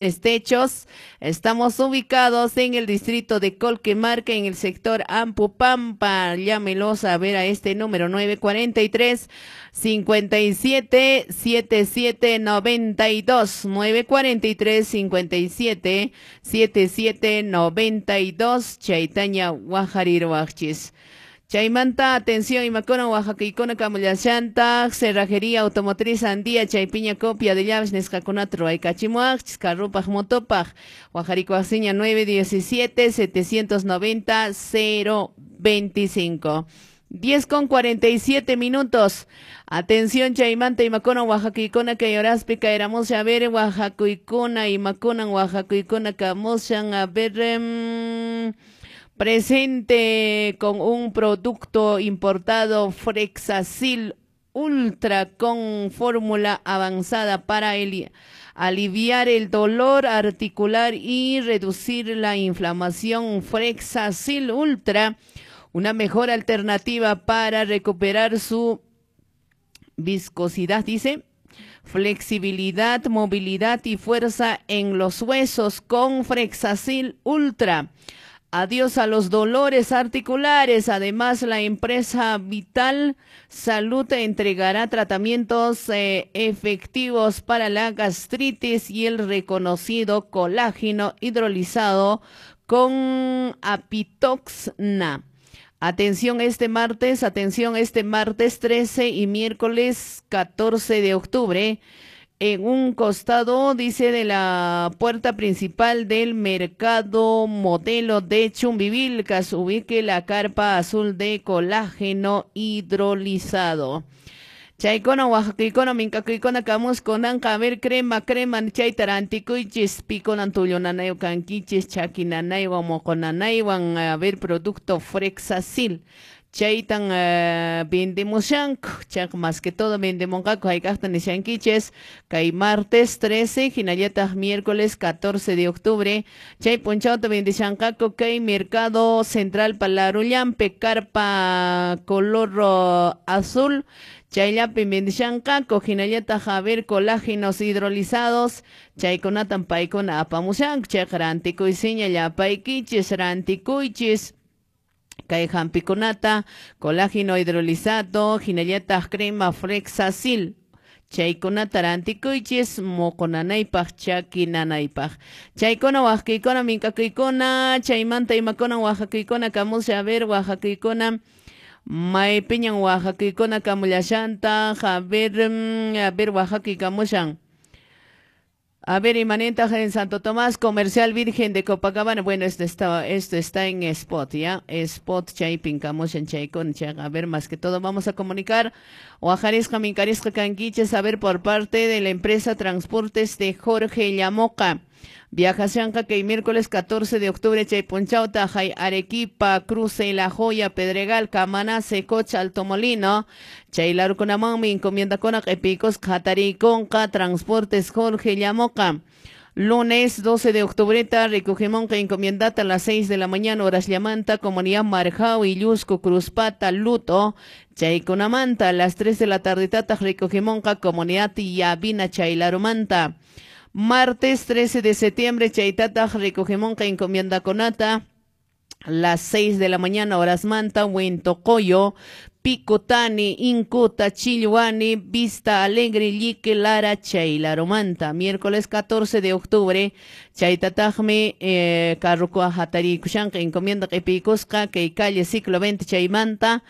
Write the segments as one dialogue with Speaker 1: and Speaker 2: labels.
Speaker 1: Techos. Estamos ubicados en el distrito de Colquemarca, en el sector Ampupampa. Llámelos a ver a este número 943 57 77 92. 943 57 77 92. Chaytaña waqhariruwaqchis. Chaymanta, atención, imakuna waqhakuykuna kamullashantaq, cerrajería automotriz Andía, chaypiña copia de llaves nisqakunata ruwaykachimuwaqchis, carrupaq, motopaq, waqharikuwaqsiña 917 790 025. 10:47. Atención, chaymanta imakuna waqhakuykuna kay horaspi kayramushan, a ver, waqhakuykuna, imakunan waqhakuykuna kamushan, a ver, presente con un producto importado Frexacil Ultra con fórmula avanzada para aliviar el dolor articular y reducir la inflamación. Frexacil Ultra, una mejor alternativa para recuperar su viscosidad, dice, flexibilidad, movilidad y fuerza en los huesos con Frexacil Ultra. Adiós a los dolores articulares. Además, la empresa Vital Salud entregará tratamientos efectivos para la gastritis y el reconocido colágeno hidrolizado con apitoxna. Atención este martes 13 y miércoles 14 de octubre. En un costado, dice, de la puerta principal del mercado modelo de Chumbivilcas, ubique la carpa azul de colágeno hidrolizado. Chaykuna waqhakuykuna mink'akuykuna kamuskunanqa, a ver, crema, crema, chayta rantikuychis, pikunan tullu nanaywan kankichis, chaki nanaywan, moqo nanaywan, a ver, producto Frexacil. Chaytan vendemushanku, chaq más que todo vendemunqaku hayk'aqta nishankichis, kay martes 13, hinallataq miércoles 14 de octubre, chay p'unchawta vendishanqaku kay mercado central Palarullampe, carpa color azul, chayllapi vendishanqaku, hinallataq a ver colágenos hidrolizados, chaykunatan paykuna apamushanku, chayqa rantikuysiña llapaykichis, rantikuychis. Kay hampikunata, colágeno hidrolizado, hinallataq crema Frexacil. Chaykunata rantikuychis, moqo nanaypaq, chaki nanaypaq. Chaykuna waqhakuykuna mink'akuykuna, chaymanta imakuna waqhakuykuna kamusha, a ver, waqhakuykuna, maypiñan waqhakuykuna kamullashantaq, a ver, waqhakuy kamushan. A ver, imanentaq en Santo Tomás, Comercial Virgen de Copacabana. Bueno, esto está en spot, ¿ya? Spot, chaypin, kamushan, chaykuna, chay, a ver, más que todo vamos a comunicar. Waqharisqa, minkarisqa, kankichis, a ver, por parte de la empresa Transportes de Jorge Llamoca. Viajashanqa kay miércoles 14 de octubre, chay p'unchawta, hay Arequipa, Cruce, La Joya, Pedregal, Camaná, Cocha, Alto Molino, chay larukunamanmi encomiendakuna q'ipiykusqa hatarikunqa Transportes Jorge Llamoca. Lunes 12 de octubre, recogemonqa encomiendata a las 6 de la mañana, horas llamanta, comunidad Marjao, Illusco, Cruzpata, Luto, chaykunamanta, a las 3 de la tarde, tata, recogemonqa, comunidad Yavina, Chaylarumanta. Martes 13 de septiembre, chaytataq recogemonqa encomiendakunata, las 6 de la mañana, horas manta, Huentocoyo, Picotani, Incuta, Chilluani, Vista Alegre, Lique, Lara, Chaylarumanta. Miércoles 14 de octubre, chaytataqmi carrukua hatarikushanqa encomienda q'ipiykusqa kay calle Ciclo 20 chaymanta,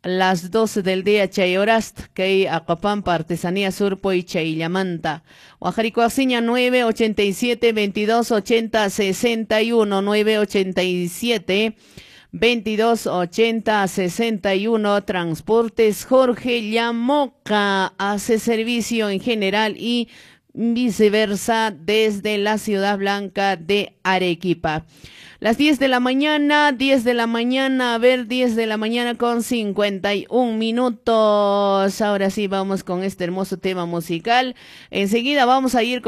Speaker 1: las 12 del día chay horast, kay Acopampa, Artesanía Surpo y Chayllamanta. Waqharikuwaqsiña 987 22 80 61, 987 22 80 61. Transportes Jorge Llamoca hace servicio en general y viceversa desde la Ciudad Blanca de Arequipa. Las 10 de la mañana, 10 de la mañana, a ver, 10 de la mañana con 51 minutos. Ahora sí, vamos con este hermoso tema musical. Enseguida vamos a ir con